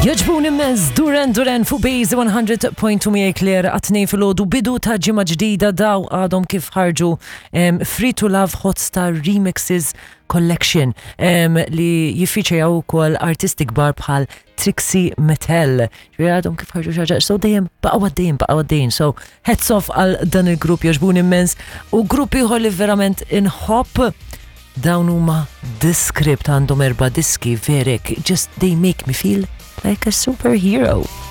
Jogħġbuni immens Duran Duran fuq Base 100.2 miegħi Claire għat-tnejn filgħodu bidu ta' ġimgħa ġdida daw għadhom kif ħarġu um, Free to Love Hot Star Remixes Collection um, li jiffiċejaw ukoll artisti kbar bħal Trixie Mattel. Ġifieri għadhom kif ħarġu xi ħaġa, so dejjem baqgħu għaddejjin, baqgħu għaddejjin. So hats off għal dan il-grupp jogħġbuni immens u grupp ieħor li verament inħobb Dawn huma The Script għandhom erba' diski verek, just they make me feel like a superhero.